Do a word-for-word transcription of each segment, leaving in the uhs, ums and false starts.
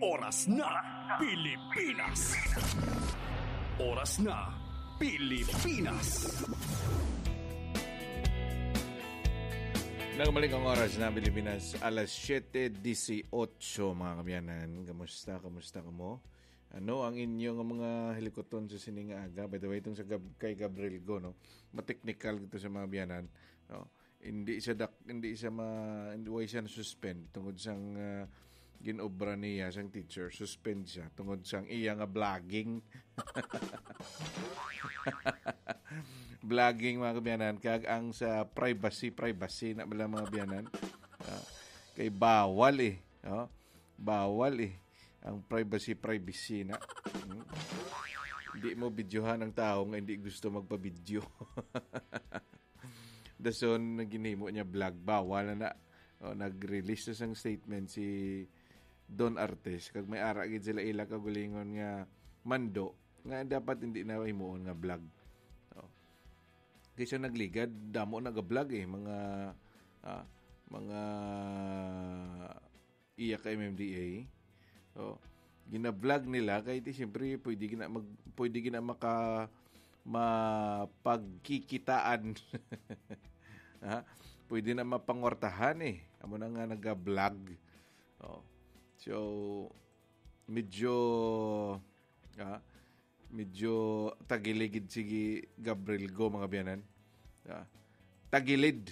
Oras na, Pilipinas. Oras na, Pilipinas. Nagmalik ang oras na Pilipinas, alas siyete dieciocho, mga kaabyanan. Kamusta? Kamusta kamo? Ano ang inyo nga mga hilikuton sa sining nga aga? By the way, itong sa Gab-, kay Gabriel Go, no? Mateknikal gito sa mga abyanan, no? Hindi siya dak-, hindi siya ma-, hindi, way siya na-suspend tungod sang, ah, ginobra niya sang teacher. Suspend siya tungod sang iya nga vlogging. Vlogging, mga kaabyanan, kag ang sa privacy, privacy na bala, mga abyanan. Ah, kay bawal eh, oh. Bawal eh. Ang privacy, privacy na. Hmm? Di mo videohan ang tao nga hindi gusto magpa-video. Dason, ginhimo niya vlog, bawal na na. O, nag-release na sang statement si Don Artes, kag may ara gid sila ila kaugalingon nga mando nga dapat hindi na himuon nga vlog. O. Kaysa nagligad, damo nag-vlog eh, mga, ah, mga iya ka M M D A. O, gina-vlog nila kay di, siyempre, pwede gina mag-, pwede gina maka-, mapagkikitaan. Ha? Pwede na mapangwartahan eh. Amo na nga naga-vlog. O. So, medyo, ah, medyo tagiligid si Gabriel Go, mga abyanan. Ah, tagilid.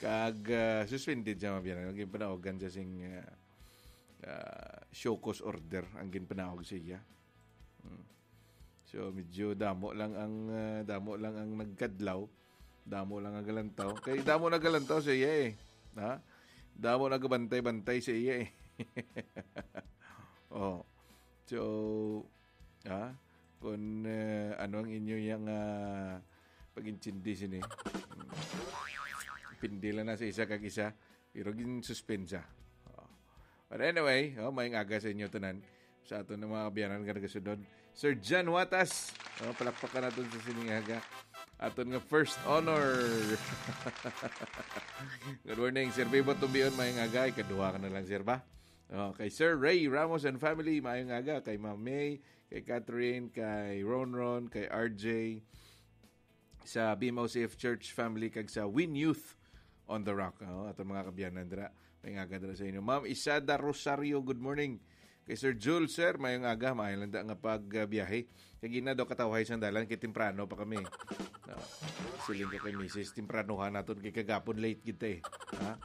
Kag, ah, suspended siya, mga abyanan. Ang ginpanawagan siya sing, ah, ah, show cause order ang ginpanawag sa iya. Hmm. So, medyo damo lang ang, ah, damo lang ang nagkadlaw. Damo lang ang galantaw. Kay damo nagalantaw sa iya eh. Ha? Damo nagabantay-bantay sa iya eh. Oh. So, ha? Kung, eh, ano ang inyo yang, ah, pag-intindi sini? Hmm. Pindi lang na sa isa kag isa. Pero gin-suspend siya. Oh. But anyway, oh, maayong aga sa inyo tanan. Sa aton nga mga abyanan nga nagasunod, Sir Jan Watas. Oh, palakpakan naton sa sining aga. Aton nga first honor. Good morning, Sir Bibo Tumbion. Maayong aga. Ikaduha ka na lang, sir, ba? Oh, kay Sir Ray Ramos and family, maayong aga. Kay Ma'am May, kay Catherine, kay Ronron, kay R J, sa B M O C F Church family, kag sa Win Youth on the Rock. Oh, aton mga kaabyanan dira. Maayong aga dira sa inyo. Ma'am Isada Rosario, good morning. Kay Sir Jules, sir, maayong aga, maayo lang da nga pagbiyahe. Kay gina daw katawhay sang dalan, kay temprano pa kami. No. Siling ko kay misis, tempranohan naton kay kagapon late kita eh. Ha?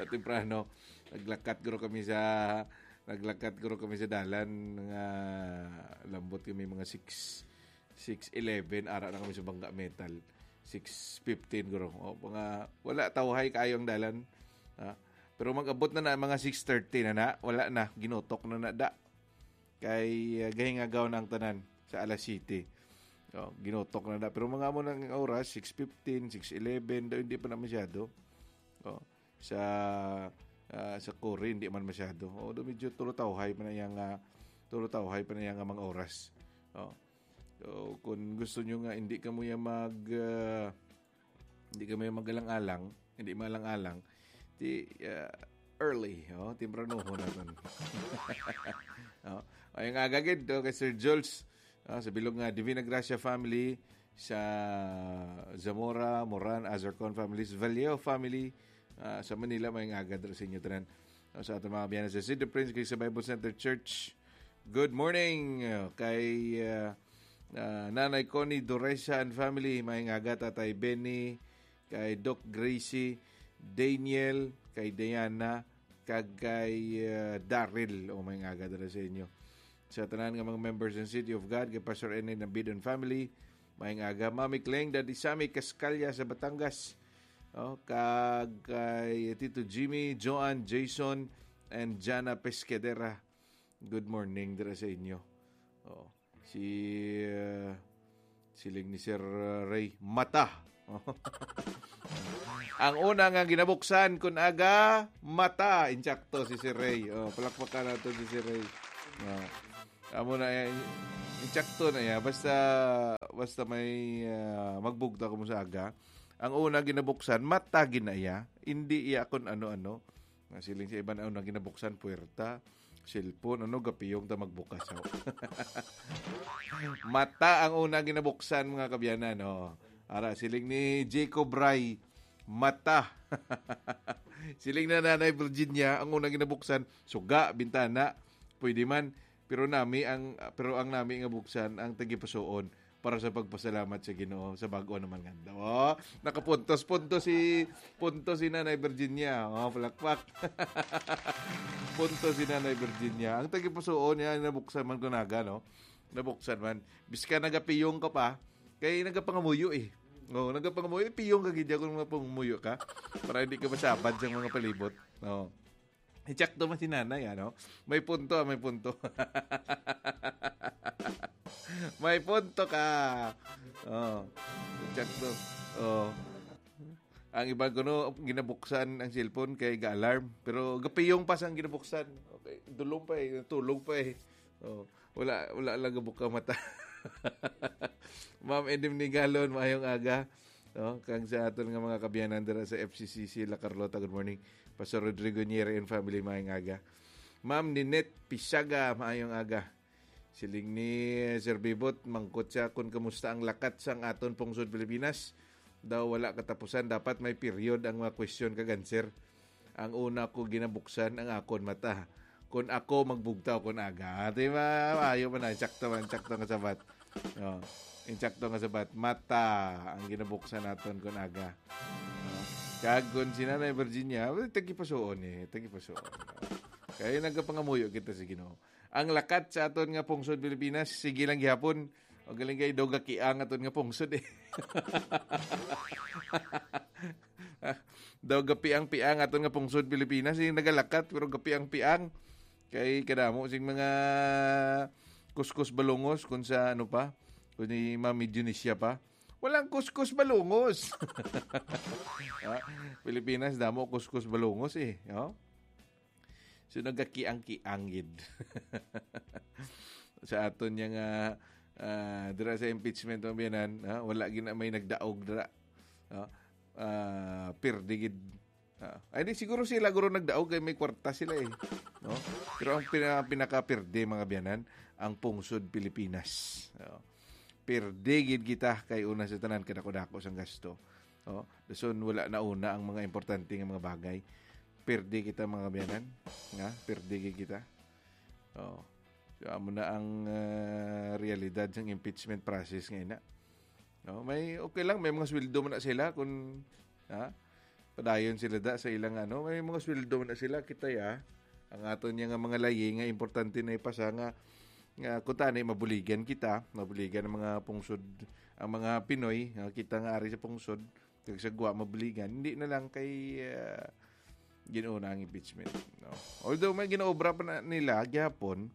Temprano. Naglakat guro kami sa, naglakat guro kami sa dalan nga lambot kami mga six, six eleven, ara na kami sa Bangga Metal. Six fifteen guro. O, mga, wala tawhay kaayo ang dalan. Ha? Pero mag-abot na na mga six thirty na na. Wala na, ginutok na na da. Kay, ah, gahingagaw na ang tanan sa alas siyete. O, ginutok na da. Pero mga amo nang oras, six fifteen, six eleven, daw hindi pa na masyado. O, sa, ah, sa Cory, hindi man masyado. O, do medyo tulutawhay pa na yang, ah, tulutawhay pa na yang, ah, mga oras. O. So, kung gusto nyo nga hindi kamo ya mag, ah, hindi kamo ya magalang-alang, hindi maalang-alang, ti, ah, early, oh, tempranohon naton. Oh, ay nga agagid, oh, kay Sir Jules, ah, sa bilog nga Divina Gracia family, sa Zamora, Moran, Azarcon families, Vallejo family, ah, sa Manila, may nga agad sa inyo tanan. Ah, sa aton mga biyanan sa City Prince, kay sa Bible Center Church, good morning, ah, kay, ah, ah, Nanay Connie Doresa and family, may nga agad, Tatay Benny, kay Doc Gracie, Daniel, kay Diana, kag kay, ah, Daryl. O, may nga agad sa inyo. Sa tanan nga mga members ng City of God, kay Pastor N A Nabidon family, maayong aga. Mami Kleng, Daddy Sammy Cascalla sa Batangas. Oh, kag kay Tito Jimmy, Joan, Jason, and Jana Pescadera. Good morning dira sa inyo. Oh, si, uh, siling ni Sir, uh, Ray, mata. Ang una nga ginabuksan kun aga, mata. Insakto si Sir Ray. Oh, palakpakan nato si Sir Ray. Oh. Amo na, eh, insakto na ya. Basta, basta may, ah, magbugta ko mo sa aga. Ang una ginabuksan, mata gina iya. Hindi iya kun ano-ano. Nga siling sa iban, ang una ginabuksan, puwerta, cellphone, ano, gapiyong ta magbukas, oh. Mata ang una ginabuksan, mga kabyanan, oh. Ara, siling ni Jacob Ray, mata. Siling na Nanay Virginia, ang una ginabuksan, suga, bintana, pwede man, pero nami ang, pero ang nami nga buksan, ang tagipusoon, para sa pagpasalamat sa Ginoo sa bag-o naman nga adlaw. Oh, nakapuntos-puntos si, puntos si Nanay Virginia. Oh, palakpak. Puntos si Nanay Virginia. Ang tagipusoon niya, nabuksan man kunaga, no? Nabuksan man. Biska nagapiyong ka pa, kay nagapangamuyo eh. Oh, nagapangamuyo, piyong ka gid kung mapangamuyo ka para hindi ka masabad sa mga palibot. Oh. Ichakto man si nanay, ano? May punto, ah, may punto. May punto ka. Oh. Ichakto. Oh. Ang iba kuno, ginabuksan ang cellphone kay ga-alarm. Pero gapiyong pa sang ginabuksan. Okay, dulong pa eh, tulog pa eh. Oh. Wala, wala lang gabuka mata. Ma'am Edim Nigalon, maayong aga. No? Kag sa aton nga mga kabyanan dira sa F C C C La Carlota, good morning. Pastor Rodrigo Nieri and family, maayong aga. Ma'am Ninette Pisaga, maayong aga. Siling ni Sir Bibot, mangkot siya kung kamusta ang lakat sang aton pungsod Pilipinas. Daw wala katapusan, dapat may period ang mga question kag answer. Ang una ko ginabuksan ang akon mata. Kun ako magbugtaw kun aga. Di ba? Ayo man na. Insakto man. Insakto nga sabat. Oh. Insakto nga sabat. Mata ang ginabuksan naton kun aga. Oh. Kag kun si Nanay Virginia, well, tagipasuon eh. Tagipasuon. Kaya nagapangamuyo kita sa Ginoo. Ang lakat sa aton nga pungsod Pilipinas, sige lang gihapon. O galing kay daw gakiang aton nga pungsod eh. Daw gapiang-piang aton nga pungsod Pilipinas, eh, nagalakat pero gapiang-piang. Kay kadamo sing mga kuskus balungos kun sa ano pa, kun ni Mami Dionisia pa. Walang kuskus balungos. Ah, Pilipinas, damo kuskus balungos eh. Oh? So, nagakiang-kiang gid. Sa aton niya nga, ah, dira sa impeachment, mga biyanan, ha? Wala gid na may nagdaog dira. No? Ah, pirdi gid. Ah, ay, di, siguro sila guro nagdaog kay may kwarta sila eh. No? Pero ang pina-, pinakapirdi, mga biyanan, ang pungsod Pilipinas. No? Pirdi gid kita kay una sa tanan, kadako-dako sang gasto. Oh, dason wala na una ang mga importante nga mga bagay. Pirdi kita, mga biyanan, nga pirdi gid kita. Oh. So, amo na ang, ah, realidad sang impeachment process nga ina. No, may okay lang, may mga sweldo man na sila kung, ha? Padayon sila da sa ilang ano, may mga sweldo man na sila, kita ya. Ang aton niya nga mga layi nga importante na ipasa nga, nga kung tani mabuligan kita, mabuligan ang mga pungsod, ang mga Pinoy, nga kita nga ari sa pungsod, kag sa Guam mabuligan, hindi na lang kay, ah, Ginoo na ang impeachment, no? Although may ginaobra pa na nila gihapon,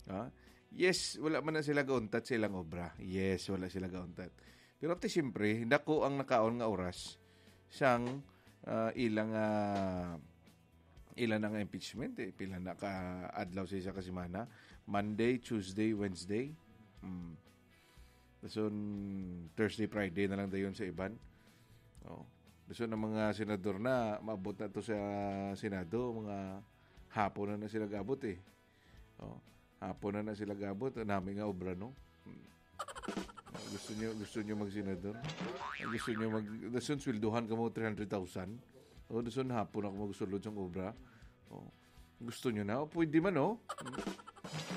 ha? Yes, wala man na sila gauntat sa ilang obra. Yes, wala sila gauntat. Pero ti siyempre, dako ang nakaon nga oras sang, ah, ilang, ah, ilang nga impeachment, eh. Pila na ka adlaw sa isa ka semana? Monday, Tuesday, Wednesday. Mm. Dason Thursday, Friday na lang dayon sa iban. Oh. Dason ang mga senador na, maabot na to sa Senado, mga hapon na na sila gabot eh. Oh. Hapon na na sila gabot, nami nga obra, no? Hmm. Gusto niyo, gusto niyo magsenador? Gusto niyo mag, dason sweldohan ka mo three hundred thousand? O, dason hapon ako magsulod sang obra. Oh. Gusto niyo na? O, pwede man, oh.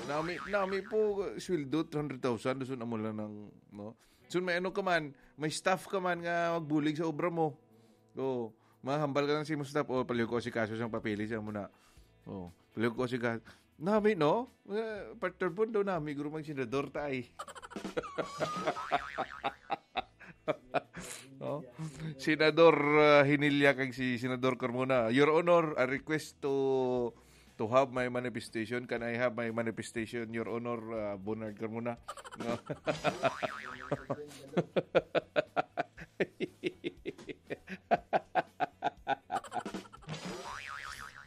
Nami, nami po, sweldo, three hundred thousand, dason amo lang ng, no? So, may ano ka man, may staff ka man nga magbulig sa obra mo. O, mahambal ka lang sa imong staff, o, palihog ko si kaso sang papeles, ang muna. O, palihog ko si kaso. Nami, no? Eh, partner po daw nami, guro magsenador ta ay. Oh. Senador, uh, Hinilya kag si Senador Carmona. Your Honor, I request to to have my manifestation. Can I have my manifestation, Your Honor, uh, Bernard Carmona? No?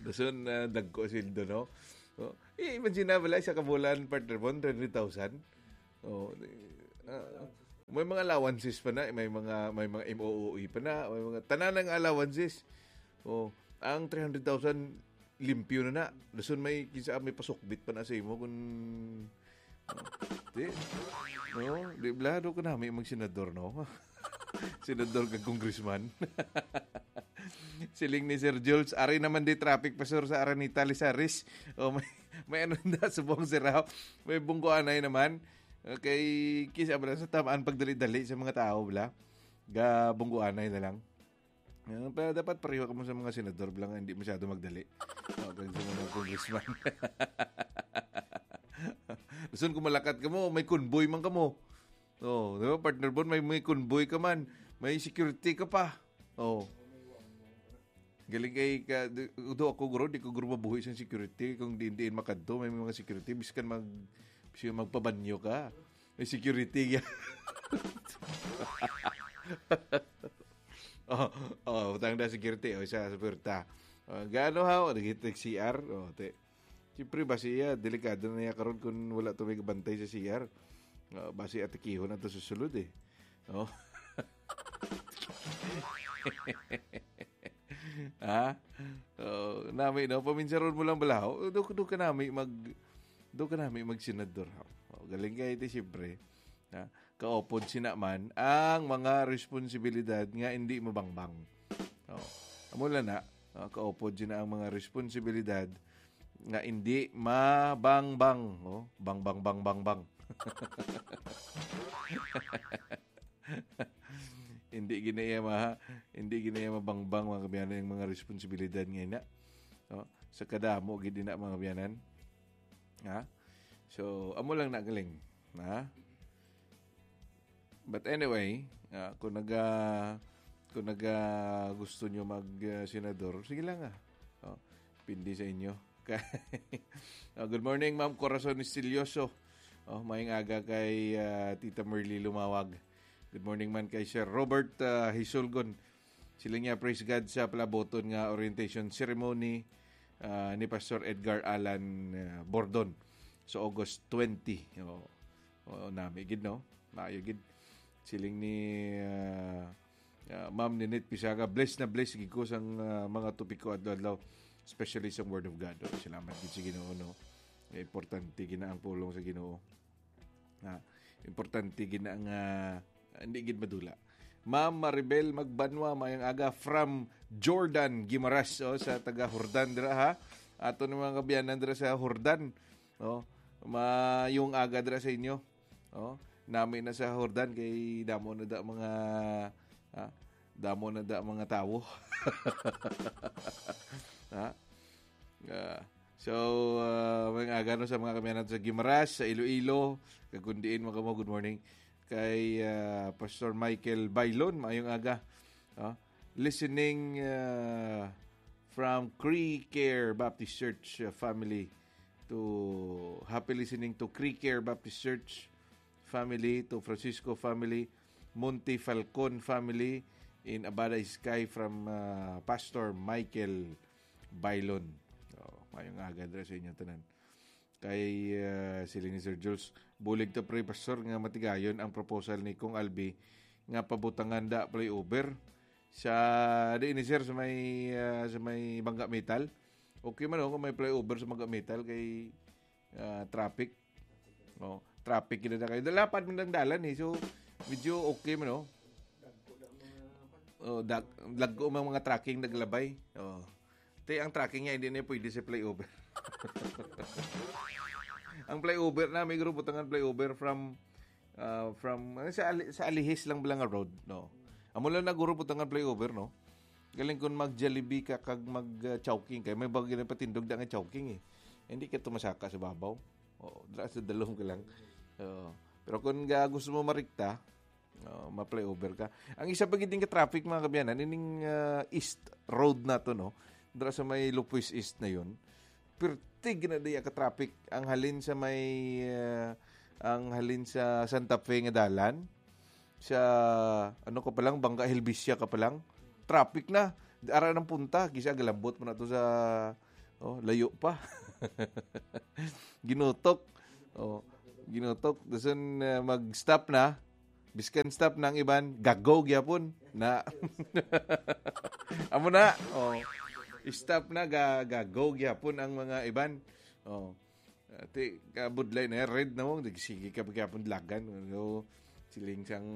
Dason, uh, dagko sweldo, no? Oh. Eh, imagine na, wala siya kabulan, partner mo, three hundred thousand. Oh, ah, may mga allowances pa na, may mga, may mga M O O E pa na, may mga tanan ng allowances. Oh, ang three hundred thousand, limpyo na na. Dason may, kinsa may pasukbit pa na sa imo kung, oh, di, no? Di bala, daw ka nami magsenador, no? Senador kag congressman. Siling ni Sir Jules, "Ari naman di traffic, Pastor, sa Araneta, Lizares." O, may, may ano na, subong sira. May bungguanay naman. Okay, kisa ba sa tamaan pagdali-dali sa mga tao, bala? Ga bungguanay na lang. Ah, pero dapat pareho kamo sa mga senador, bala nga hindi masyado magdali. O, kag sa mga congressman. Gusto ko malakat kamo, may convoy man kamo. Oh, di ba, partner Bon? May, may convoy ka man. May security ka pa. Oh. Galing kay ka, di, do ako, guro, di ko, guro, mabuhi sa security. Kung diin-diin makadto, may mga security. Biskan mag, biskan magpabanyo ka. May security ya. Oh, oh, butang na security. O, isa sa puwerta. Oh, gaano ha? O, nag-, nag-C R? Oh, te. Siyempre, basi iya, delikado na niya karon kung wala to may kabantay sa C R. Ah, basi atikihon na to sa sulod eh. Oh. Ha? Oh, nami, no? Paminsaron mo lang bala. Oh, do, do ka nami mag, do ka nami magsenador, ha? Oh, galing kayo ito, siyempre. Ha? Kaupod sina man ang mga responsibilidad nga hindi mabangbang. Oh. Amo lang na, ah, kaupod sina ang mga responsibilidad nga hindi mabangbang. Oh, bang, bang, bang, bang, bang. Hindi gina iya ma-, hindi gina iya mabangbang, mga kabiyanan, yung mga responsibilidad nga ina. Oh, sa kadamo gid ina, mga kabiyanan. Ha? So, amo lang na, galing. Ha? But anyway, ah, kung naga, kung naga gusto nyo mag, ah, senador, sige lang, ah. Oh, pindi sa inyo. Oh, good morning, Ma'am Corazon Estilioso. Oh, mayong aga kay, ah, Tita Merly Lumawag. Good morning man kay Sir Robert, ah, Hisulgon. Sila niya, praise God, sa palaboton nga orientation ceremony, ah, ni Pastor Edgar Alan, ah, Bordon sa August twenty. Oo. Oo, nami gid, no? Maayo gid. Siling ni, ah, ah, Ma'am Ninette Pisaga, "Bless na bless gid ko sang, ah, mga topiko adlaw-adlaw, especially sa Word of God." Oh, salamat gid sa Ginoo, no? Importante gid na ang pulong sa Ginoo. Ah, importante gid na nga, ah, hindi gid madula. Ma'am Maribel Magbanwa, mayong aga from Jordan, Guimaras, oh, sa taga Jordan dira, ha. Ato ni mga kabiyanan dira sa Jordan. Oh, mayong aga dira sa inyo. Oh, nami na sa Jordan kay damo na da mga, ah, damo na da mga tawo. Ha? Ah, so, ah, mayong aga, no, sa mga kamiyanan sa Guimaras, sa Iloilo, kag kun diin man kamo, good morning. Kay, ah, Pastor Michael Bailon, mayong aga. Ah, listening, ah, from Cree Care Baptist Church, ah, family to, happy listening to Cree Care Baptist Church family, to Francisco family, Monte Falcon family in Abada Sky from, ah, Pastor Michael Bailon. Oh, mayong aga dira sa inyo tanan. Kay, ah, sila ni Sir Jules, "Bulig ta, pre, Pastor, nga matigayon ang proposal ni Kong Albi nga pabutangan da flyover sa," di ni, sir, sa may, ah, sa may Bangga Metal. Okay man, oh, kung may flyover sa Bangga Metal kay, ah, traffic. Oh, traffic gid na kayo. Lapad man ang dalan eh. So, medyo okay man, oh. Oh, dag-, lagko man mga trucking naglabay. Oh. Te, ang trucking niya, hindi na pwede sa flyover. Ang flyover na, may group butangan flyover from, ah, from, ano, sa Ali-, sa Alihis lang bala nga road, no? Amo lang na guro butangan flyover, no? Galing kung mag-Jollibee ka kag mag, ah, Chowking kay may bagay na patindog da nga Chowking eh. Hindi ka tumasaka sa babaw. Oo, dra sa dalom ka lang. Oo. Pero kung ga-, gusto mo marikta, oh, ma-flyover ka. Ang isa pa gid nga traffic, mga kabiyanan, ining, ah, East Road na to, no? Dra sa may Lupuis East na yun. Pirtig na diya ka traffic. Ang halin sa may, ah, ang halin sa Santa Fe nga dalan, sa, ano ka pa lang, Bangga Helvecia ka pa lang, traffic na. Ara ng punta, kisa galambot mo na to sa, oh, layo pa. Ginutok. Oh, ginutok. Dason, ah, mag-stop na. Biskan stop na ang iban, gago gyapon na. Amo na. Oh. Stop na, ga, ga, go gyapon ang mga iban. Oh. Ati, kabudlay na, red na mo, sige ka gyapon dalagan. So, siling sang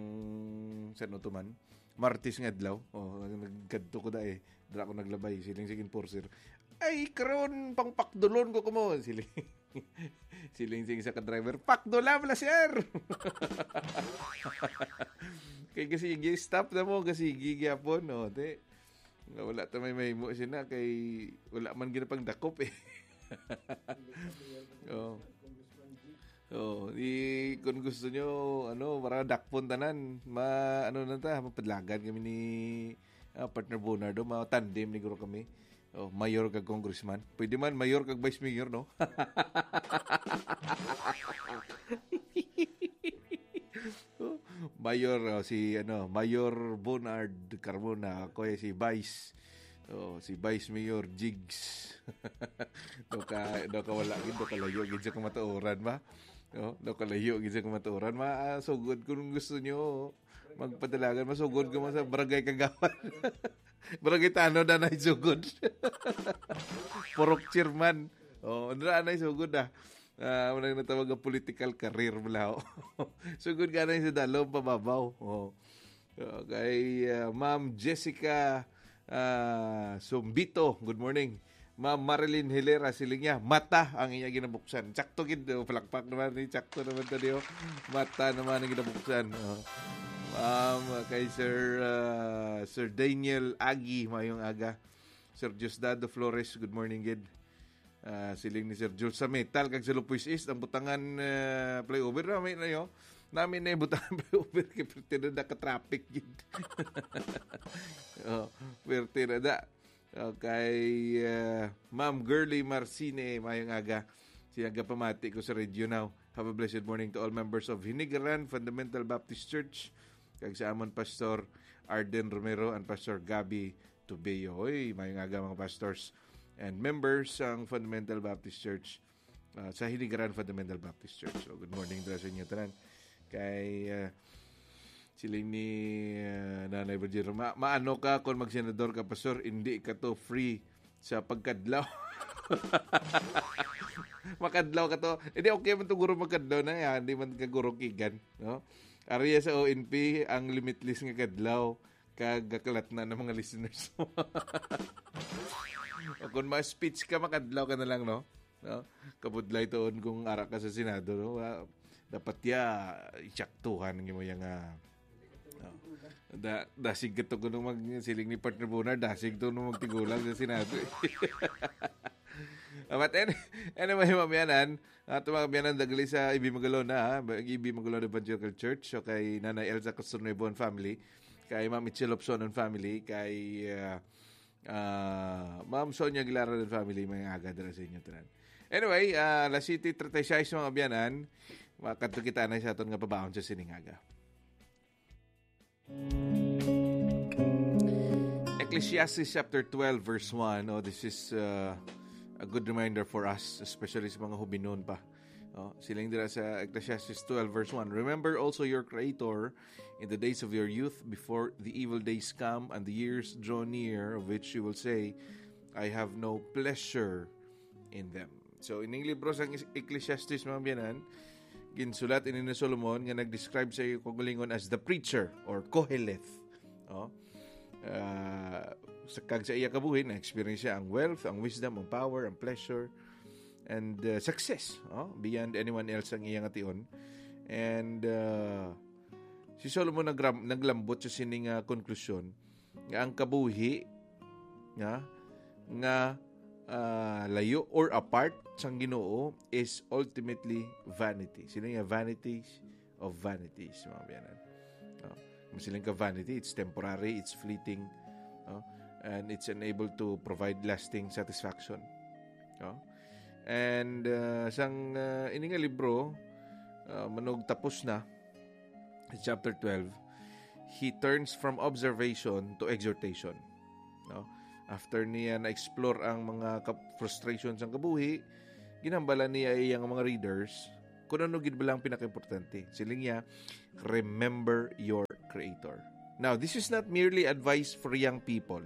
San Otoman. Martes nga adlaw. Oh, nagkadto ko da eh. Dala ko naglabay, siling sa enforcer. Ay, karon, pangpakdulon ko kamo. Siling. Siling sing sa ka-driver, "Pakdula bala, sir!" Kay kasi, stop na mo, kasi gyapon, no? Te, nga wala ta may mahimo sina, kay wala man gina pang dakop eh. Oh. Oh, di, kung gusto nyo, ano, para dakpon tanan, ma, ano na ta, mapadlagan kami ni, ah, partner Bonardo, ma-tandem ni guro kami. Oh, mayor kag congressman. Pwede man, mayor kag vice mayor, no? Oh, mayor, oh, si, ano, Mayor Bonard Carmona, ako eh, si Vice. Oh, si Vice Mayor Jigs. Do ka, do ka wala gid, do ka layo gid sa kamatuoran ba? Oh, do ka layo gid sa kamatuoran. Ma, ah, sugod kung gusto nyo, magpadalagan, masugod ko man sa barangay kagawad. Barangay Tanod na naisugod. Purok chairman. Oh, andra na isugod ah. Ah, wala na tawag ang political career mo lao. Sugod ka na sa dalom, pababaw. Oh. Okay, ah, Ma'am Jessica, ah, Sumbito, good morning. Ma'am Marilyn Hilera, siling niya, mata ang iya ginabuksan. Sakto gid, oh, palakpak naman ni, sakto naman to, di, oh. Mata naman ang ginabuksan. Oh. Ma'am, kay Sir, ah, Sir Daniel Agi, mayong aga. Sir Diosdado Flores, good morning gid. Ah, siling ni Sir Jules, sa metal kag sa Lupoy's East, ang butangan, ah, flyover, nami na yo. Nami na yung butangan flyover kay perte na naka-traffic gid. Oh, perte na da. Okay, ah, Ma'am Girly Marcine, mayong aga. Siya gapamati ko sa Radio Now. Have a blessed morning to all members of Hinigaran Fundamental Baptist Church, kag sa amon Pastor Arden Romero and Pastor Gabby Tubeo. Hoy, mayong aga, mga pastors and members sang Fundamental Baptist Church, ah, sa Hinigaran Fundamental Baptist Church. So, good morning dira sa inyo tanan. Kay, ah, siling ni, ah, Nanay Virgil, "Ma-, maano ka kung magsenador ka, Pastor? Hindi ka to free sa pagkadlaw." Makadlaw ka to. Hindi, okay man to, guro, magkadlaw na yan. Hindi man ka guro kigan, no? Area sa O N P, ang limitless nga kadlaw. Kag gakalat na ng mga listeners. O kung ma-speech ka, makadlaw ka na lang, no? No? Kabudlay tuon kung ara ka sa Senado, no? Ah, dapat ya, isaktuhan ng imo yang, ah, no? Da, dasig ka to kung mag, siling ni partner Bonar, dasig to nung magtigulang sa Senado, eh. Ah, but any-, anyway, mga biyanan, ato mga biyanan, dagali sa Ibi Magalona, ha? Ibi Magalona Evangelical Church, so kay Nanay Elsa Castronuevo and family, kay Ma'am Itzel Lobson and family, kay, ah, ah, Ma'am Sonia Aguilar and family, may aga dira sa inyo tanan. Anyway, ah, alas siyete treinta y seis, mga biyanan, makadto kita na sa aton nga pabaon sa sining aga. Ecclesiastes chapter twelve, verse one. Oh, this is, uh, a good reminder for us, especially sa mga hubinon pa. Oh, siling dira sa Ecclesiastes twelve, verse one, "Remember also your Creator in the days of your youth, before the evil days come and the years draw near, of which you will say, 'I have no pleasure in them.'" So, ining libro sang Ecclesiastes, mga biyanan, ginsulat ini ni Solomon nga nag-describe sa iya kaugalingon as the preacher or Koheleth. Oh. Ah, sa, kag sa iya kabuhi, na-experience siya ang wealth, ang wisdom, ang power, ang pleasure, and, uh, success, oh, beyond anyone else ang iya nga tion. And, uh, si Solomon nagram-, naglambot sa sining, uh, konklusyon nga ang kabuhi nga, nga, ah, layo or apart sang Ginoo is ultimately vanity. Sino nga vanities of vanities, mga biyanan? No? Masiling ka vanity, it's temporary, it's fleeting, no? And it's unable to provide lasting satisfaction. No? And, uh, sang, uh, ini nga libro, uh, manugtapos na, chapter twelve, he turns from observation to exhortation. No? After niya na-explore ang mga ka-, frustrations sang kabuhi, ginhambalan niya iyang mga readers kung ano gid bala ang pinakaimportante. Siling niya, "Remember your Creator." Now, this is not merely advice for young people.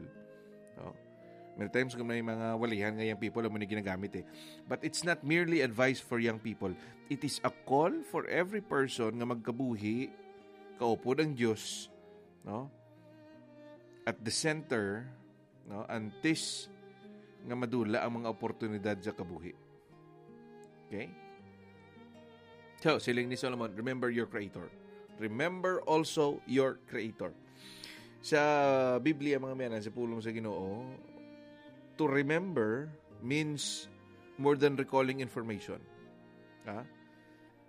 No? Many times kung may mga walihan nga young people, amo ni ginagamit eh. But it's not merely advice for young people. It is a call for every person nga magkabuhi, kaupod ang Dios, no? At the center, no? Antes nga madula ang mga oportunidad sa kabuhi. Okay? So, siling ni Solomon, "Remember your Creator." Remember also your Creator. Sa Biblia, mga miyanan, sa pulong sa Ginoo, to remember means more than recalling information. Ha?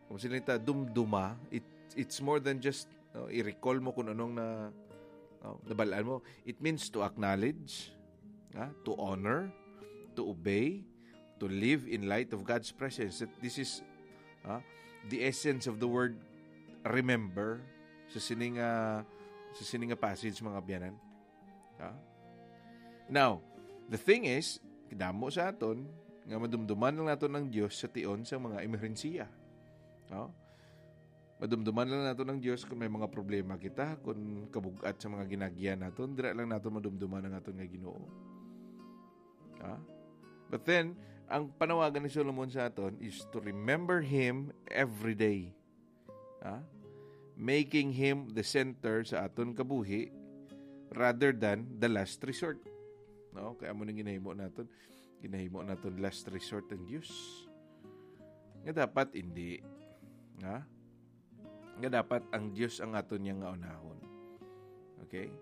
Kung sila ta dumduma, it, it's more than just, no, i-recall mo kung anong na, no, nabalaan mo. It means to acknowledge, ha? To honor, to obey, to live in light of God's presence. That this is, ha, the essence of the word remember sa sining, ah, sa sining nga passage, mga biyanan. Ha? Now, the thing is, damo sa aton nga madumduman lang naton ang Dios sa tion sa mga emerhensiya. No? Madumduman lang naton ang Dios kung may mga problema kita, kung kabug-at sa mga ginagyan naton, dira lang naton madumduman ang aton nga Ginoo. Ha? But then, ang panawagan ni Solomon sa aton is to remember Him every day. Ha? Making Him the center sa aton kabuhi rather than the last resort. No? Kaya mo nang ginahimo naton, ginahimo naton last resort ang Dios. Nga dapat hindi. Ha? Nga dapat ang Dios ang aton niya nga unahon. Okay?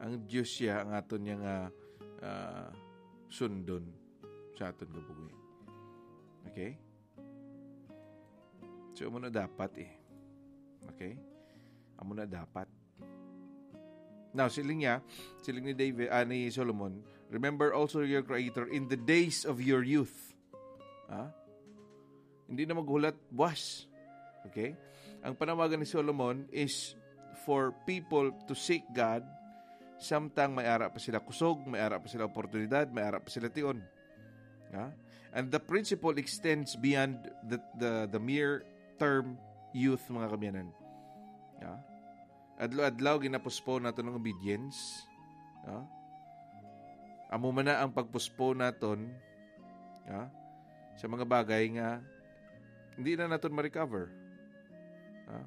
Ang Dios siya ang aton niya nga, ah, sundon sa aton kabuhi. Okay? So, amo na dapat eh. Okay? Amo na dapat. Now, siling niya, siling ni David, ah, ni Solomon, "Remember also your Creator in the days of your youth." Ha? Hindi na maghulat buwas. Okay? Ang panawagan ni Solomon is for people to seek God samtang may ara pa sila kusog, may ara pa sila oportunidad, may ara pa sila tion. Ha? And the principle extends beyond the, the, the mere term youth, mga kamiyanan. Ha? Adlaw-adlaw ginapostpone nato ang obedience. Ha? Amo man na ang pagpostpone naton, ha? Sa mga bagay nga hindi na naton ma-recover. Ha?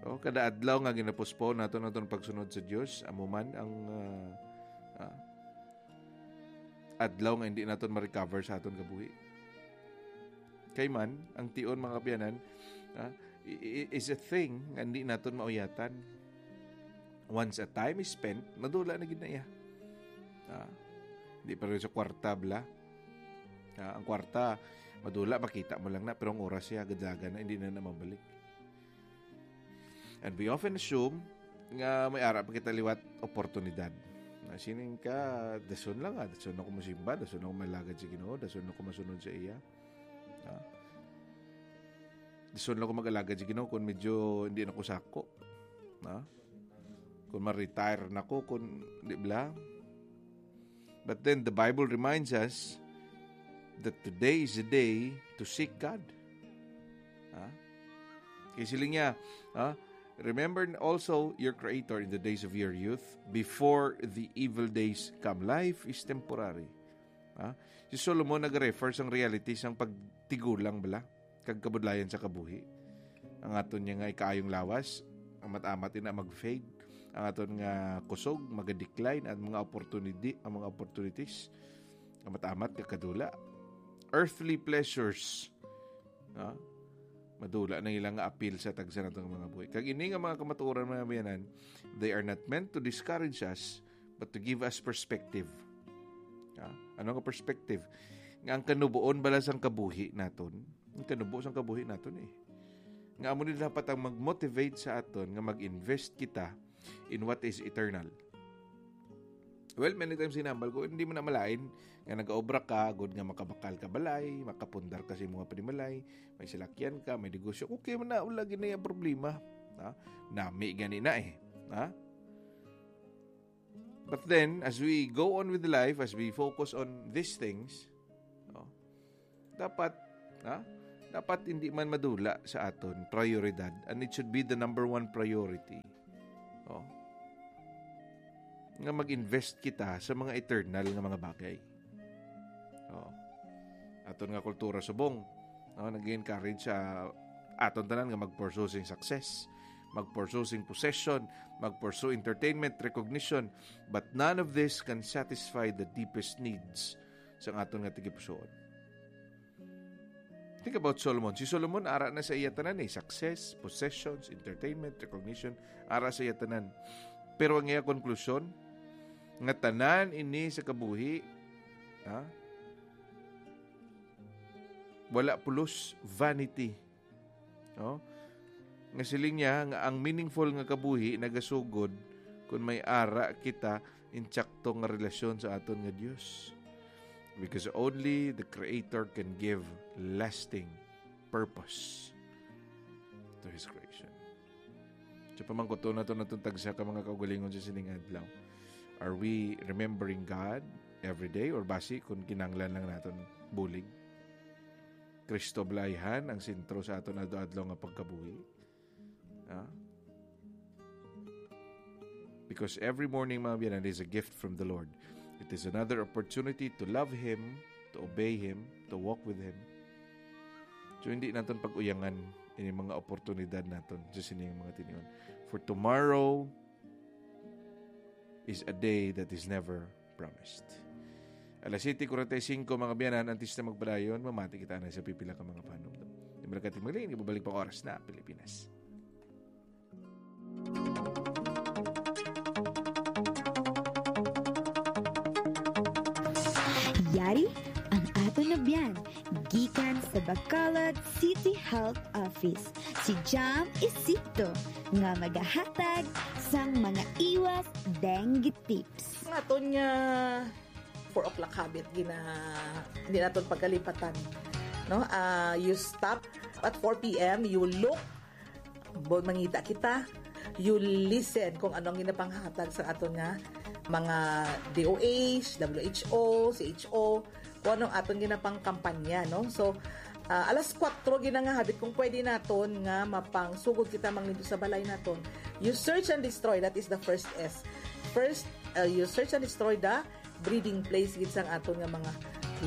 O, kada adlaw nga ginapostpone naton aton pagsunod sa Dios, amo man ang, ah, ah, adlaw nga hindi naton ma-recover sa aton kabuhi. Kay man, ang tion, mga kapiyanan, ah, i-, i-, is a thing nga hindi naton mauyatan. Once a time is spent, madula na gid na iya. Ah, di pa rin sa kwarta, bala. Ah, ang kwarta, madula, makita mo lang na, pero ang oras siya, gadagan na, hindi na na mabalik. And we often assume nga may ara pa kita liwat oportunidad. Na sining ka, dason lang, ah, dason ako masimba, dason ako malagad sa Ginoo, dason ako masunod sa iya. Ah. Dason lang ako mag-alagad sa Ginoo kung medyo hindi na ko sako. Ah. Kung ma-retire na ko, kung, di bala? But then the Bible reminds us that today is the day to seek God. Ha? Kay siling niya, ha? "Remember also your Creator in the days of your youth, before the evil days come." Life is temporary. Ha? Si Solomon nag-refer sang reality sang pagtigulang bala kag kabudlayan sa kabuhi. Ang aton niya nga ikaayong lawas, amat-amat ina mag-fade. Ang aton nga kusog, mag-decline, ang mga opportunity, ang mga opportunities, amat-amat kakadula. Earthly pleasures, ha? Madula na ilang nga apil sa tagsa nato nga mga buhi. Kag ini nga mga kamatuoran, mga biyanan, they are not meant to discourage us, but to give us perspective. Ha? Ano nga perspective? Nga ang kanubuon bala sang kabuhi naton, ang kanubo sang kabuhi naton eh. Nga amo ni dapat ang mag-motivate sa aton nga mag-invest kita in what is eternal. Well, many times hinambal ko, hindi mo na malain nga nag-obra ka, good nga makabakal ka balay, makapundar ka sa imong panimalay, may salakyan ka, may negosyo. Okay man na, wala gid na yung problema. Ha? Nami gani na eh. Ha? But then, as we go on with life, as we focus on these things, no, dapat, ha? Dapat hindi man madula sa aton prioridad, and it should be the number one priority. No? nga mag-invest kita sa mga eternal nga mga bagay. Oh. Aton nga kultura subong, no, nag-encourage sa aton tanan nga mag-pursue sing success, mag-pursue sing possession, mag-pursue entertainment, recognition, but none of this can satisfy the deepest needs sang aton nga tagipusoon. Think about Solomon. Si Solomon, ara na sa iya tanan eh. Success, possessions, entertainment, recognition, ara sa iya tanan. Pero ang iya konklusyon, nga tanan ini sa kabuhi, ha? Wala pulos, vanity. No? Nga siling niya nga ang meaningful nga kabuhi nagasugod kung may ara kita insakto nga relasyon sa aton nga Dios. Because only the Creator can give lasting purpose to His creation. Sa pamangkuton nato natong tagsa ka mga kaugalingon sa sining adlaw, are we remembering God every day, or basi kung kinanglan lang naton bulig? Kristo bala ayhan ang sentro sa aton adlaw-adlaw nga pagkabuhi? Ah? Because every morning, mga biyanan, is a gift from the Lord. It is another opportunity to love Him, to obey Him, to walk with Him. So, hindi naton pag-uyangan ini mga oportunidad naton sa sining mga tinion. For tomorrow is a day that is never promised. Alas siyete kuwarenta y singko, mga biyanan, antes na magpadayon, mamati kita na sa pipila ka mga panumdum. Di malakating magling, ibabalik pa ang oras na Pilipinas. Yari ang aton nga biyan gikan sa Bacolod City Health Office, si Jam Isito, nga magahatag sang mga iwas dengue tips. Ang aton nga four o'clock habit, gina, hindi naton pagkalipatan. No? Ah, you stop at four p.m., you look, bo-, mangita kita, you listen kung ano ang ginapanghatag sa aton nga mga D O H, W H O, C H O, kung anong aton ginapangkampanya, no? So, ah, alas kuwatro ginangahabit kung pwede naton nga mapangsugod kita manglimpyo sa balay naton. You search and destroy, that is the first S. First, uh, you search and destroy the breeding place gid sang aton nga mga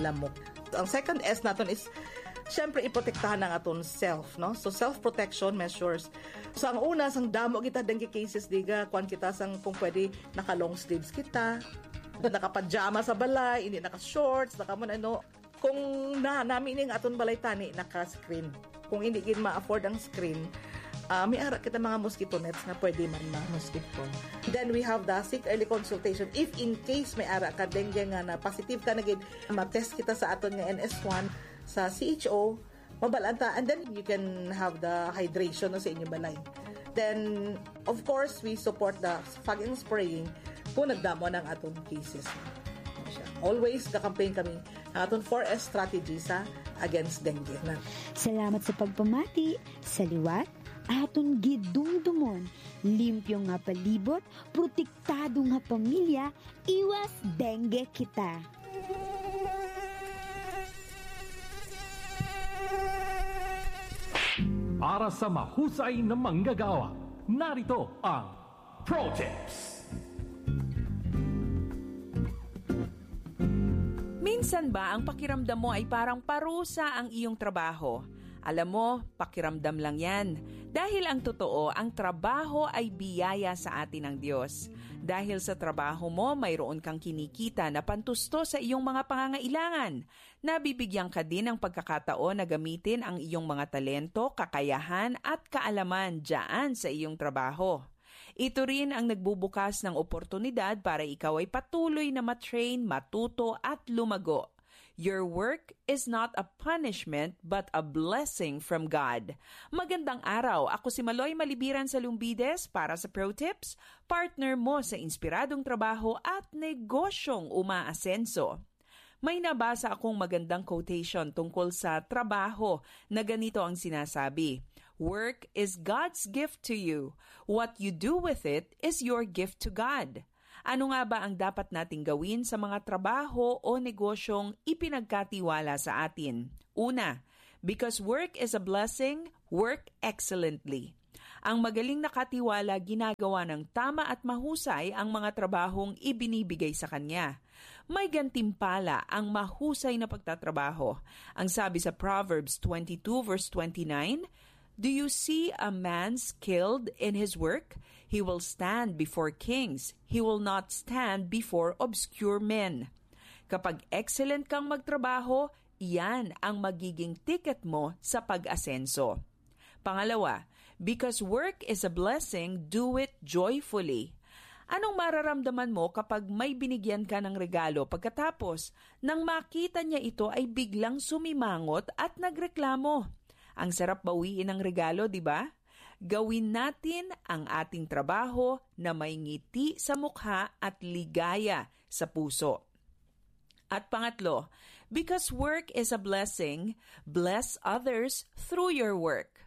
lamok. Ang second S naton is, syempre, iprotektahan ang aton self, no? So, self-protection measures. So, ang una, sang damo kita dengue cases, diga, kuan kita sang, kung pwede, naka-long sleeves kita, naka-pajama sa balay, hindi naka-shorts, naka-, ano, kung na, nami ning aton balay tani, naka-screen. Kung hindi gid ma-afford ang screen, ah, may ara kita mga mosquito nets nga pwede man ma-mosquito. Then we have the seek early consultation. If in case may ara ka dengue nga na positive ka na gid, ma-test kita sa aton nga N S one sa C H O, mabalaan ta. And then you can have the hydration, no, sa inyong balay. Then, of course, we support the fog and spraying kung nagdamo na ang aton cases. Always ka-campaign kami ang aton four S strategy sa against dengue na. Salamat sa pagpamati. Sa liwat, aton gidumdumon, limpyo nga palibot, protektado nga pamilya, iwas dengue kita. Para sa mahusay na manggagawa, narito ang Pro Tips. Minsan ba ang pakiramdam mo ay parang parusa ang iyong trabaho? Alam mo, pakiramdam lang yan. Dahil ang totoo, ang trabaho ay biyaya sa atin ng Diyos. Dahil sa trabaho mo, mayroon kang kinikita na pantusto sa iyong mga pangangailangan. Nabibigyan ka din ng pagkakataon na gamitin ang iyong mga talento, kakayahan, at kaalaman dyan sa iyong trabaho. Ito rin ang nagbubukas ng oportunidad para ikaw ay patuloy na matrain, matuto at lumago. Your work is not a punishment but a blessing from God. Magandang araw. Ako si Maloy Malibiran sa Lumbides para sa Pro Tips, partner mo sa inspiradong trabaho at negosyong umaasenso. May nabasa akong magandang quotation tungkol sa trabaho na ganito ang sinasabi, "Work is God's gift to you. What you do with it is your gift to God." Ano nga ba ang dapat nating gawin sa mga trabaho o negosyong ipinagkatiwala sa atin? Una, because work is a blessing, work excellently. Ang magaling na katiwala ginagawa ng tama at mahusay ang mga trabahong ibinibigay sa kanya. May gantimpala ang mahusay na pagtatrabaho. Ang sabi sa Proverbs twenty-two verse twenty-nine, "Do you see a man skilled in his work? He will stand before kings. He will not stand before obscure men." Kapag excellent kang magtrabaho, iyan ang magiging ticket mo sa pag-asenso. Pangalawa, because work is a blessing, do it joyfully. Anong mararamdaman mo kapag may binigyan ka ng regalo pagkatapos, nang makita niya ito, ay biglang sumimangot at nagreklamo? Ang sarap bawiin ng regalo, di ba? Gawin natin ang ating trabaho na may ngiti sa mukha at ligaya sa puso. At pangatlo, because work is a blessing, bless others through your work.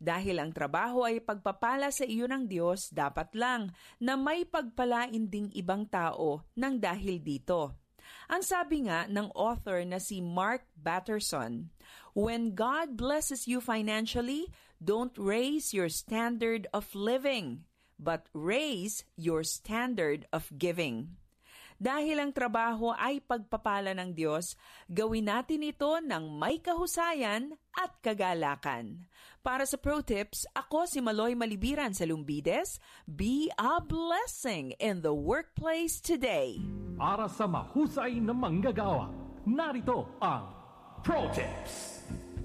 Dahil ang trabaho ay pagpapala sa iyo ng Diyos, dapat lang na may pagpalain ding ibang tao ng dahil dito. Ang sabi nga ng author na si Mark Batterson, "When God blesses you financially, don't raise your standard of living, but raise your standard of giving." Dahil ang trabaho ay pagpapala ng Diyos, gawin natin ito ng may kahusayan at kagalakan. Para sa Pro Tips, ako si Maloy Malibiran sa Lumbides. Be a blessing in the workplace today. Para sa mahusay na manggagawa, narito ang Pro Tips.